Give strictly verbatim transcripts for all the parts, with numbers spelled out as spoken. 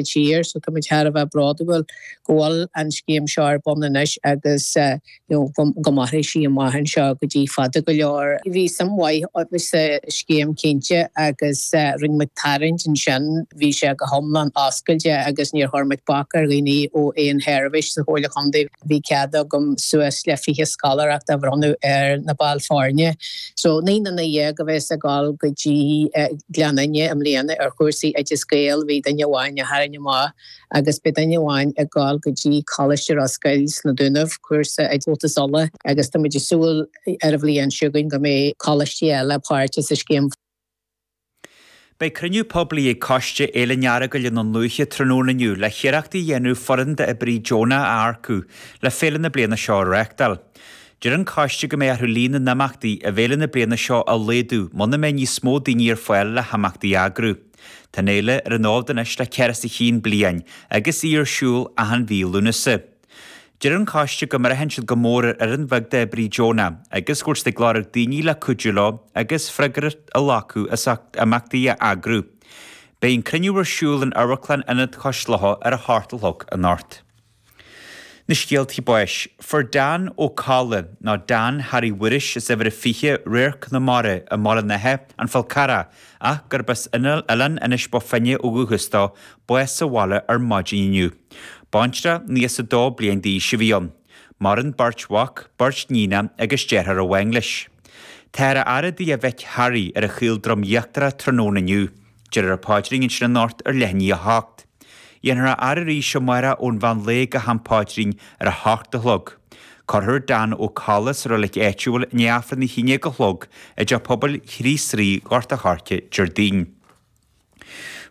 tír, so tá muid thar a bheith bródúil go bhfuil an scéim seo ar bun anois agus you know, go go mairfidh sí amach anseo go dtí fada go leor. Bhí suim mhaith sa scéim cinnte agus rinne muid tarraingt ansin bhí sé go hiomlán oscailte agus níor chuir muid bac ar dhaoine ó aon sheirbhís sa Chomhairle Contae. Bhí cead agam suas le fiche scoláireacht a bhronnadh ar na baill foirne. So naoi nduine dhéag a bheas ag dul go dtí Gleann Fhinne i mbliana ar chúrsaí Oideas Gael bhí duine amháin a tharraing amach agus beidh duine amháin ag dul go dtí Coláiste Ros Goill sna Dúnaibh cúrsa i Comhaltas Uladh agus tá muid ag súil ar an bhliain seo chugainn go mbeidh coláistí eile páirteach sa scéim. Beidh cruinniú poiblí ag Coiste Fhéile an Earagail i nDún Lúiche tráthnóna inniu le hiarracht a dhéanamh foireann d'oibrithe deonacha a earcú le féile na bliana seo a reáchtáil. Deir an coiste go mbeidh orthu líon na n-imeachtaí i bhféile na bliana seo a laghdú muna mbeidh níos mó daoine ar fáil le himeachtaí a eagrú. Tá an fhéile ar an fhód anois le ceithre is a haon bliain agus í ar siúl achan mhí Lúnasa. Deir an coiste go mbraitheann siad go mór ar fhoireann bheag d'oibrithe deonacha agus go bhfuil siad ag lorg daoine le cuidiú leo agus freagracht a ghlacadh as imeachtaí a eagrú. Beidh an cruinniú ar siúl in Amharclann Ionad Chois Locha ar a hocht a chlog anocht. Na scéaltaí báis, fuair Dan Ó Colla nó Dan Harry Mhuiris as uimhir a fiche Radharc na Mara i mBaile an Átha, An Fál Carrach, ach gurb as Oileán Inis Bó Finne ó dhúchas dó, bás sa bhaile ar maidin inniu. Baintreach nócha is a dó bliain d'aois a bhí ann. Maireann beirt mhac, beirt níonacha agus deartháir amháin leis. Táthar á fhaire i dtigh a mhic Harry ar an Chaoldroim Íochtarach tráthnóna inniu. Déarfar an paidrín ansin anocht ar leath i ndiaidh a hocht. Dhéanfar é a fhaire arís amárach ón mheán lae go ham paidrín ar a hocht a chlog. Cuirfear Dan Ó Colla sa reilig áitiúil i ndiaidh Aifreann a haon déag a chlog i dTeach Pobail Chríost Rí Ghort a' Choirce Déardaoin.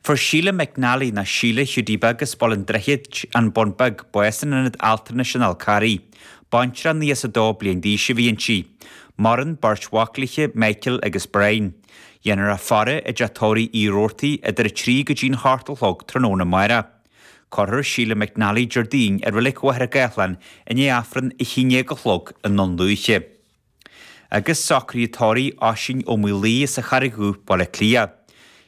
Fuair Síle McNally nó Síle Hiúdaí Beag as Baile an Droichid, An Bun Beag, bás in ionad altranais an Fhál Carraigh. Baintreach nócha is a dó bliain d'aois a bhí inti. Maireann beirt mhac léi, Michael agus Brian. Dhéanfar a faire i dteach tórraimh Uí Robhartaigh idir a trí go dtí'n hocht a chlog tráthnóna amárach. Cuirfear Síle McNally Déardaoin i Reilig Mhachaire Gathlán i ndiaidh Aifreann a haon déag a chlog i nDún Lúiche. Agus socruithe tórraimh Oisín Ó Maolaodha as an Charraig Dhubh, Baile Átha Cliath.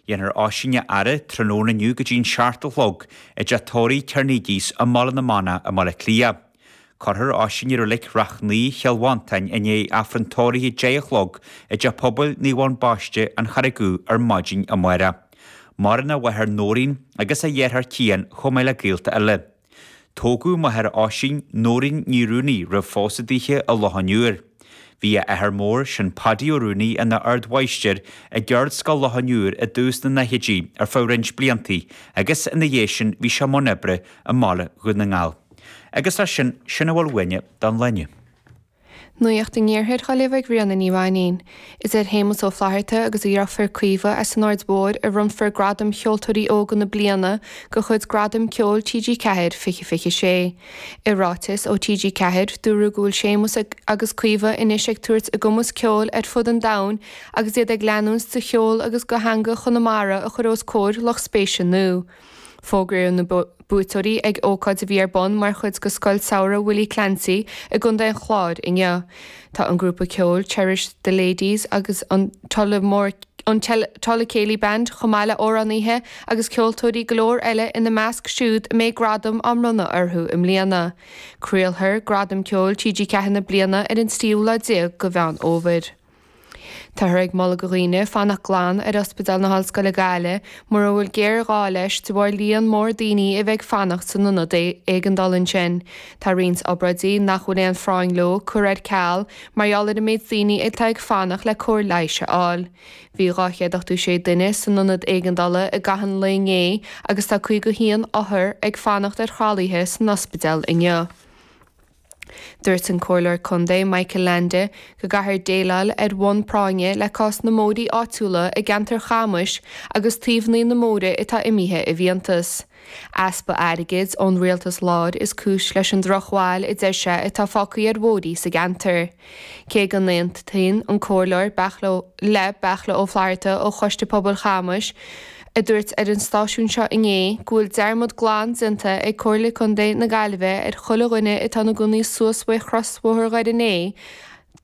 Dhéanfar Oisín a fhaire tráthnóna inniu go dtí'n seacht a chlog i dteach tórraimh Kernigie's i mBaile na Manach i mBaile Átha Cliath. Cuirfear Oisín i Reilig Shrath Naoi Chill Mhantáin i ndiaidh Aifreann tórraimh a deich a chlog i dteach pobail Naomh Eoin Baiste, An Charraig Dhubh ar maidin amárach. Maireann a mháthair Nóirín agus a dheartháir Cian chomh maith le gaolta eile. Tógadh máthair Oisín, Nóirín Ní Rúnaí, roimh phósadh daoithe i Loch an Iúir. Bhí a athair mór, sin Paddy Ó Rúnaí, ina ardmháistir i gCeardscoil Loch an Iúir i dtús na ndaichidí ar feadh roinnt bliantaí agus ina dhiaidh sin bhí sé i mbun oibre i mbaile Dhún na nGall. Agus leis sin, sin a bhfuil uainne don lá inniu. Nuacht an Iarthair á léamh ag Ríona Ní Mhainín. Is ar Shéamus Ó Flatharta agus a dheirfiúr Caoimhe as an Aird Mhóir a bhronnfar Gradam Cheoltóirí Óga na Bliana de chuid Gradam Ceoil T G ceathair fiche fiche sé. I ráiteas ó T G ceathair, dúradh go bhfuil Séamus agus Caoimhe anois ag tabhairt a gcumas ceoil ar fud an domhain agus iad ag leanúint de cheol agus de theanga Chonamara a chur os comhair lucht spéise nua. Fógraíodh na buaiteoirí ag ócáid a bhí ar bun mar chuid de Scoil Samhraidh Willie Clancy i gContae an Chláir inniu. Tá an grúpa ceoil Cherish the Ladies agus an Tullamore an Tulla Céilí Band chomh maith le amhránaithe agus ceoltóirí go leor eile ina measc siúd a mbeidh gradam á mbronnadh orthu i mbliana. Craolfar Gradam Ceoil T G ceathair na bliana ar an tríú lá déag de Mheán Fhómhair. Táthar ag moladh do dhaoine fanacht glan ar Ospidéal na hOllscoile Gaillimh mura bhfuil géarghá leis de bharr líon mór daoine a bheith ag fanacht san ionad éigeandála ansin. Tá roinnt obráidí nach bhfuil aon phráinn leo curtha ar ceal mar gheall ar an méid daoine atá ag fanacht le cóir leighis a fháil. Bhí dhá chéad ochtó sé duine san ionad éigeandála i gcaitheamh an lae inné agus tá caoga a haon othar ag fanacht ar thralaithe san ospidéal inniu. Dúirt an Comhairleoir Contae Michael Leainde go gcaithfear déileáil ar bhonn práinne le cás na mbóithrí áitiúla i gceantar Chamais agus taobhanna na mbóithre atá imithe i bhfiántas. Easpa airgid ón rialtas láir is cúis leis an drochbhail a deir sé atá fágtha ar bhóithrí sa gceantar. Cé go n-aontaíonn an Comhairleoir le Beartla Ó Flatharta ó Choiste Pobail Chamais, a dúirt ar an stáisiún seo inné go bhfuil dearmad glan déanta ag Comhairle Contae na Gaillimhe ar chuile dhuine atá ina gcónaí suas uaidh chrosbhóthar Dhoire an Fhéich,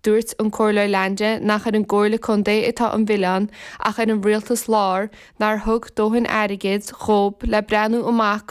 Dúirt an Comhairleoir Leainde nach ar an gComhairle Contae atá an milleán ach ar an rialtas láir nár thug dóthain airgid dhóibh le breathnú amach